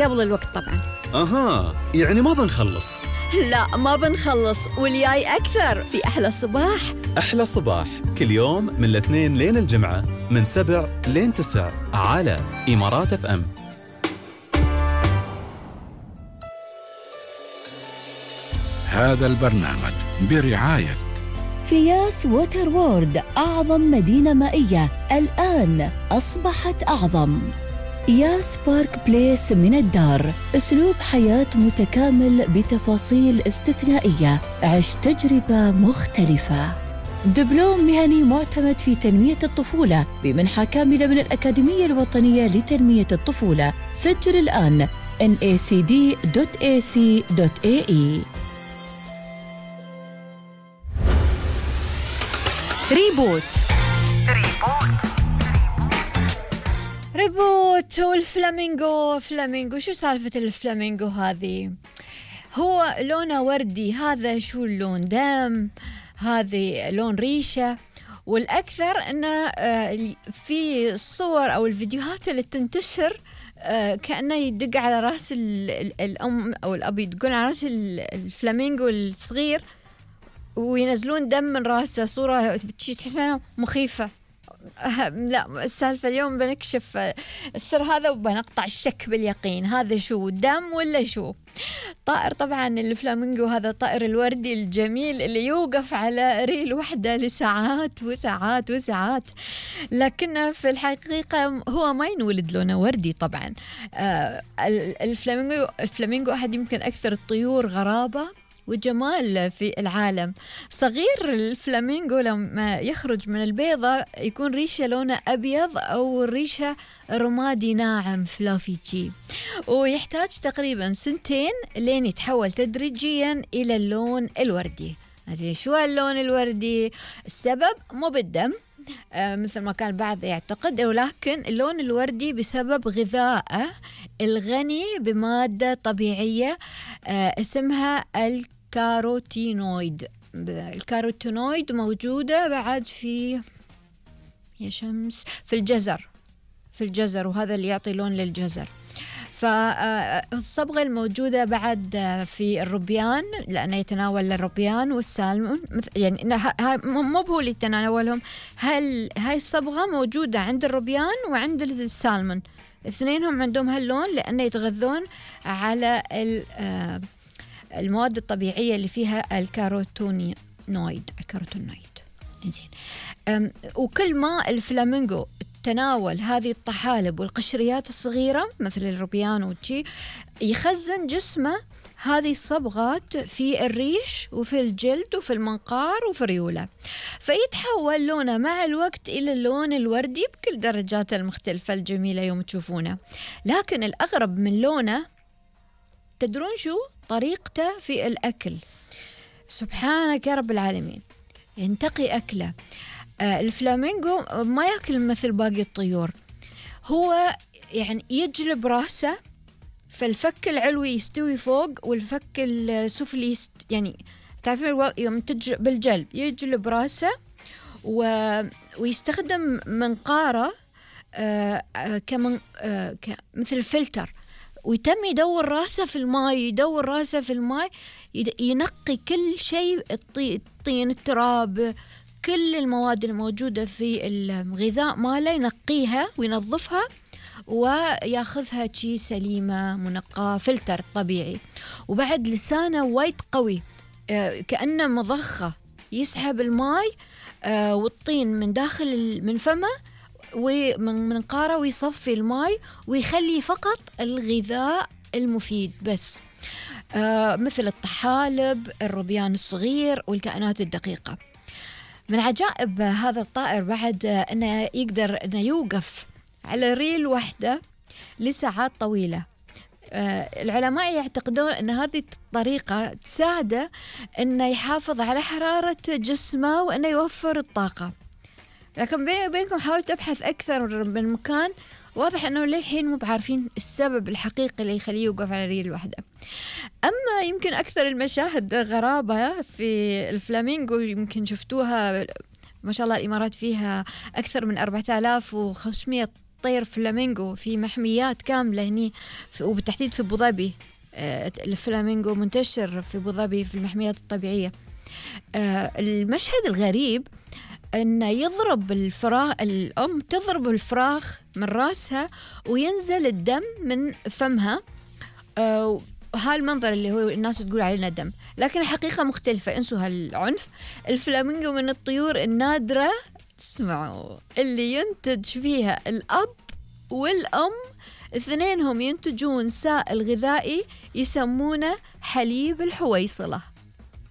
قبل الوقت طبعا. أها، يعني ما بنخلص. لا ما بنخلص، والجاي أكثر في أحلى صباح. أحلى صباح كل يوم من الاثنين لين الجمعة من 7 لين 9 على إمارات FM. هذا البرنامج برعاية فياس ووتر وورد، أعظم مدينة مائية الآن أصبحت أعظم. ياس بارك بليس من الدار، أسلوب حياة متكامل بتفاصيل استثنائية، عش تجربة مختلفة. دبلوم مهني معتمد في تنمية الطفولة بمنحة كاملة من الأكاديمية الوطنية لتنمية الطفولة. سجل الآن nacd.ac.ae. ريبوت والفلامينغو. شو سالفة الفلامينغو هذه؟ هو لونه وردي، هذا شو اللون؟ دم، هذه لون ريشة. والأكثر أنه في الصور أو الفيديوهات اللي تنتشر كأنه يدق على رأس الأم أو الأب، يدقون على رأس الفلامينغو الصغير وينزلون دم من رأسه، صورة تحسها مخيفة. لا، السالفة اليوم بنكشف السر هذا وبنقطع الشك باليقين. هذا شو، دم ولا شو؟ طائر طبعا الفلامينغو، هذا الطائر الوردي الجميل اللي يوقف على ريل واحدة لساعات وساعات وساعات، لكن في الحقيقة هو ما ينولد لونه وردي طبعا. الفلامينغو أحد يمكن أكثر الطيور غرابة وجمال في العالم. صغير الفلامينغو لما يخرج من البيضة يكون ريشه لونه أبيض أو ريشه رمادي ناعم فلافيتشي، ويحتاج تقريبا 2 لين يتحول تدريجيا إلى اللون الوردي. شو اللون الوردي؟ السبب مو بالدم مثل ما كان البعض يعتقد، ولكن اللون الوردي بسبب غذائه الغني بمادة طبيعية اسمها الكاروتينويد. الكاروتينويد موجودة بعد في في الجزر، وهذا اللي يعطي لون للجزر. فالصبغة الموجودة بعد في الروبيان، لأنه يتناول الروبيان والسالمون، يعني مو هو اللي يتناولهم، هاي الصبغة موجودة عند الروبيان وعند السالمون، اثنينهم عندهم هاللون لأنه يتغذون على المواد الطبيعية اللي فيها الكاروتينويد. إنزين، وكل ما الفلامينغو تناول هذه الطحالب والقشريات الصغيرة مثل الروبيان وشي، يخزن جسمه هذه الصبغات في الريش وفي الجلد وفي المنقار وفي الريولة، فيتحول لونه مع الوقت إلى اللون الوردي بكل درجاته المختلفة الجميلة يوم تشوفونه. لكن الأغرب من لونه، تدرون شو؟ طريقته في الأكل. سبحانك يا رب العالمين، ينتقي أكله. الفلامينغو ما يأكل مثل باقي الطيور، هو يعني يجلب رأسه، فالفك العلوي يستوي فوق والفك السفلي يعني تعرفين يوم بالجلب يجلب رأسه، ويستخدم منقارة مثل فلتر، ويتم يدور رأسه في الماء، ينقي كل شيء، الطين، التراب، كل المواد الموجودة في الغذاء ماله ينقيها وينظفها وياخذها شي سليمة منقاة، فلتر طبيعي. وبعد لسانه وايد قوي كأنه مضخة، يسحب الماء والطين من داخل من فمه ومن منقاره، ويصفي الماء ويخلي فقط الغذاء المفيد بس، مثل الطحالب، الروبيان الصغير والكائنات الدقيقة. من عجائب هذا الطائر بعد أنه يقدر أنه يوقف على ريل واحدة لساعات طويلة. العلماء يعتقدون أن هذه الطريقة تساعده أنه يحافظ على حرارة جسمه وأنه يوفر الطاقة. لكن بيني وبينكم حاولت أبحث أكثر من مكان، واضح أنه للحين مو بعارفين السبب الحقيقي اللي يخليه يوقف على ريل واحدة. أما يمكن أكثر المشاهد غرابة في الفلامينغو يمكن شفتوها، ما شاء الله الإمارات فيها أكثر من 4500 طير فلامينغو في محميات كاملة هني وبالتحديد في أبوظبي. الفلامينغو منتشر في أبوظبي في المحميات الطبيعية. المشهد الغريب أن يضرب الفراخ، الأم تضرب الفراخ من رأسها وينزل الدم من فمها. هالمنظر اللي هو الناس تقول عليه دم، لكن الحقيقة مختلفة، انسوا هالعنف. الفلامينغو من الطيور النادرة، تسمعوا، اللي ينتج فيها الأب والأم اثنينهم ينتجون سائل غذائي يسمونه حليب الحويصلة.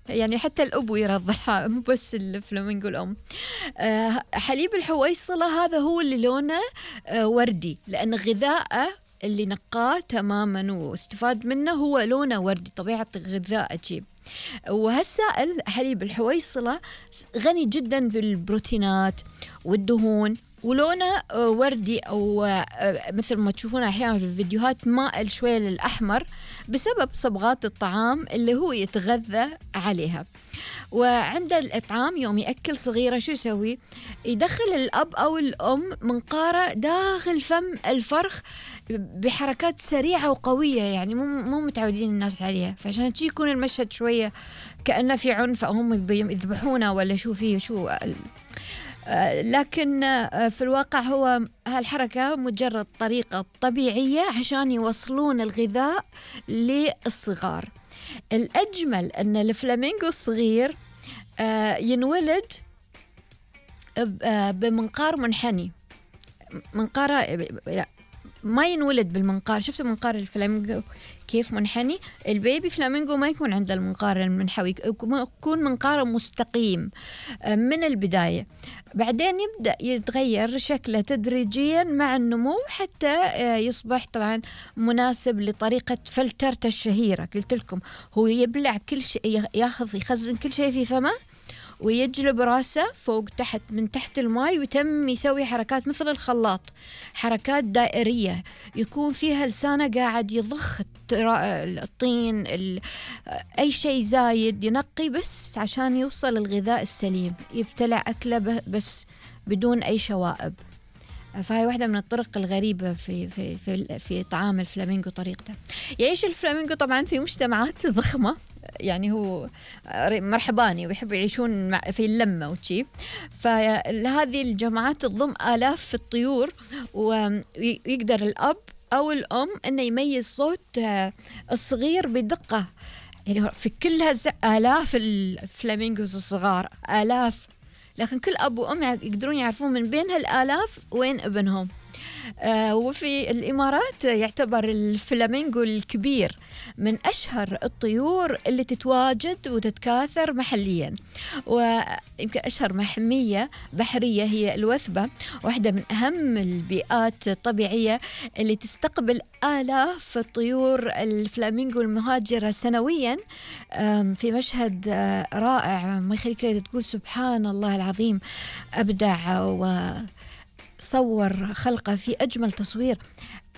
يعني حتى الأب يرضعها، مو بس الفلامينغو الأم. حليب الحويصلة هذا هو اللي لونه وردي، لأن غذاءه اللي نقاه تماما واستفاد منه هو لونه وردي، طبيعة غذاء عجيب. وهالسائل حليب الحويصلة غني جدا بالبروتينات والدهون، ولونه وردي أو مثل ما تشوفون أحيانا في الفيديوهات مائل شوية للأحمر بسبب صبغات الطعام اللي هو يتغذى عليها. وعند الإطعام يوم يأكل صغيرة شو يسوي؟ يدخل الأب أو الأم منقارة داخل فم الفرخ بحركات سريعة وقوية، يعني مو متعودين الناس عليها، فعشان تجي يكون المشهد شوية كأنه في عنف أو هم يذبحونه ولا شو فيه شو. لكن في الواقع هو هالحركة مجرد طريقة طبيعية عشان يوصلون الغذاء للصغار. الأجمل أن الفلامينغو الصغير ينولد بمنقار منحني. منقارة ما ينولد بالمنقار، شفتوا منقار الفلامينغو كيف منحني؟ البيبي فلامينغو ما يكون عنده المنقار المنحوي، يكون منقاره مستقيم من البداية، بعدين يبدأ يتغير شكله تدريجيا مع النمو حتى يصبح طبعا مناسب لطريقة فلترته الشهيرة. قلت لكم هو يبلع كل شيء، يخزن كل شيء في فمه ويجلب راسه فوق تحت من تحت الماء، ويتم يسوي حركات مثل الخلاط، حركات دائرية يكون فيها لسانه قاعد يضخ الطين أي شيء زايد ينقي بس عشان يوصل الغذاء السليم، يبتلع أكله بس بدون أي شوائب. فهي واحدة من الطرق الغريبة في طعام الفلامينغو طريقته. يعيش الفلامينغو طبعا في مجتمعات ضخمة، يعني هو مرحباني ويحبوا يعيشون في اللمة وشي، فهذه الجماعات تضم آلاف الطيور، ويقدر الأب أو الأم أنه يميز صوت الصغير بدقة. يعني في كلها آلاف الفلامينغوز الصغار، آلاف، لكن كل أب وأم يقدرون يعرفون من بين هالآلاف وين ابنهم. وفي الإمارات يعتبر الفلامينغو الكبير من أشهر الطيور اللي تتواجد وتتكاثر محليا. ويمكن أشهر محمية بحرية هي الوثبة، واحدة من أهم البيئات الطبيعية اللي تستقبل آلاف الطيور الفلامينغو المهاجرة سنويا، في مشهد رائع ما يخليك تقول سبحان الله العظيم، أبدع وصور خلقه في أجمل تصوير.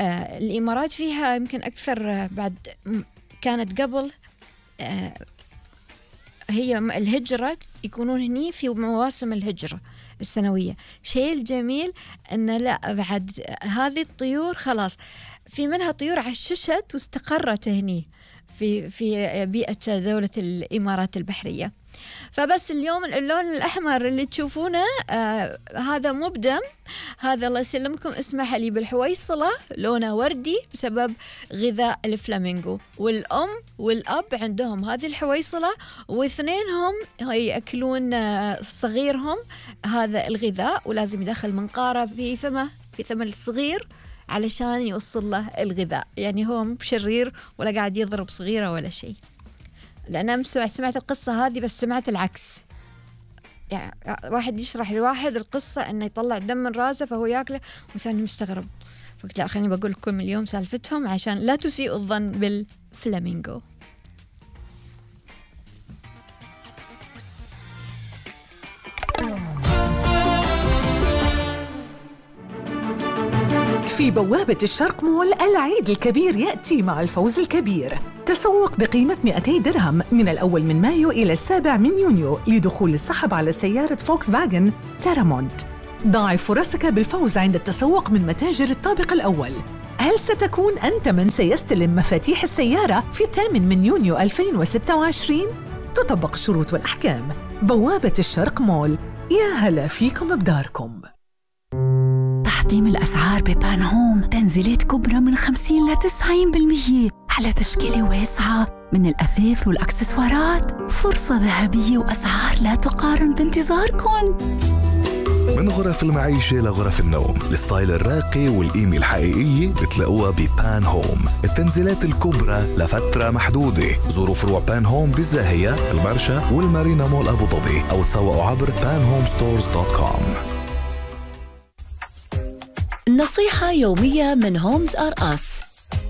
الإمارات فيها يمكن أكثر، بعد كانت قبل هي الهجرة يكونون هني في مواسم الهجرة السنوية. شيء الجميل أن لا بعد هذه الطيور خلاص في منها طيور عششت واستقرت هني في بيئة دولة الإمارات البحرية. فبس اليوم اللون الأحمر اللي تشوفونه هذا مو بدم، هذا الله يسلمكم اسمه حليب الحويصلة، لونه وردي بسبب غذاء الفلامينغو. والأم والأب عندهم هذه الحويصلة، واثنينهم يأكلون صغيرهم هذا الغذاء، ولازم يدخل منقارة في فمه في فم الصغير علشان يوصل له الغذاء. يعني هو مو بشرير ولا قاعد يضرب صغيرة ولا شيء. لأن سمعت القصة هذه بس سمعت العكس، يعني واحد يشرح لواحد القصة أنه يطلع دم من راسه فهو يأكله، وثاني مستغرب. فقلت لا خليني بقول لكم اليوم سالفتهم عشان لا تسيئوا الظن بالفلامينغو. في بوابة الشرق مول العيد الكبير يأتي مع الفوز الكبير. تسوق بقيمة 200 درهم من الأول من مايو إلى 7 من يونيو لدخول السحب على سيارة فولكس فاجن تيرامونت. ضاعف فرصك بالفوز عند التسوق من متاجر الطابق الأول. هل ستكون أنت من سيستلم مفاتيح السيارة في 8 يونيو 2026؟ تطبق الشروط والأحكام. بوابة الشرق مول، يا هلا فيكم بداركم. تحطيم الأسعار ببان هوم، تنزيلات كبرى من 50 ل 90% على تشكيلة واسعة من الأثاث والأكسسوارات. فرصة ذهبية وأسعار لا تقارن بانتظاركم. من غرف المعيشة لغرف النوم، الستايل الراقي والقيمة الحقيقية بتلاقوها ببان هوم. التنزيلات الكبرى لفترة محدودة. زوروا فروع بان هوم بالزاهية، المرشا والمارينا مول أبو ظبي، أو تسوقوا عبر panhomestores.com. نصيحة يومية من هومز آر أس: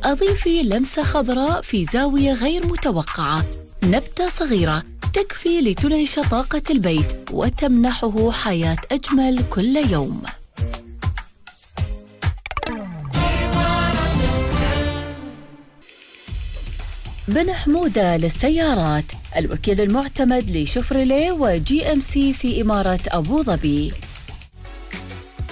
أضيفي لمسة خضراء في زاوية غير متوقعة. نبتة صغيرة تكفي لتنعش طاقة البيت وتمنحه حياة أجمل كل يوم. بن حمودة للسيارات، الوكيل المعتمد لشفرليه وجي ام سي في إمارة أبو ظبي.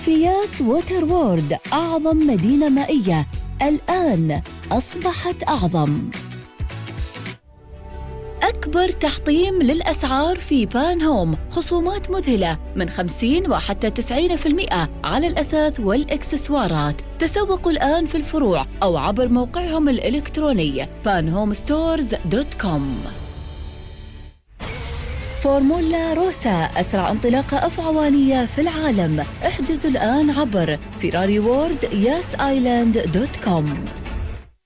فياس ووتر وورد، أعظم مدينة مائية الآن أصبحت أعظم. أكبر تحطيم للأسعار في بان هوم، خصومات مذهلة من 50 وحتى 90% على الأثاث والإكسسوارات. تسوقوا الآن في الفروع أو عبر موقعهم الإلكتروني panhomestores.com. فورمولا روسا، أسرع انطلاقة أفعوانية في العالم. احجزوا الآن عبر ferrariworld.yasaisland.com.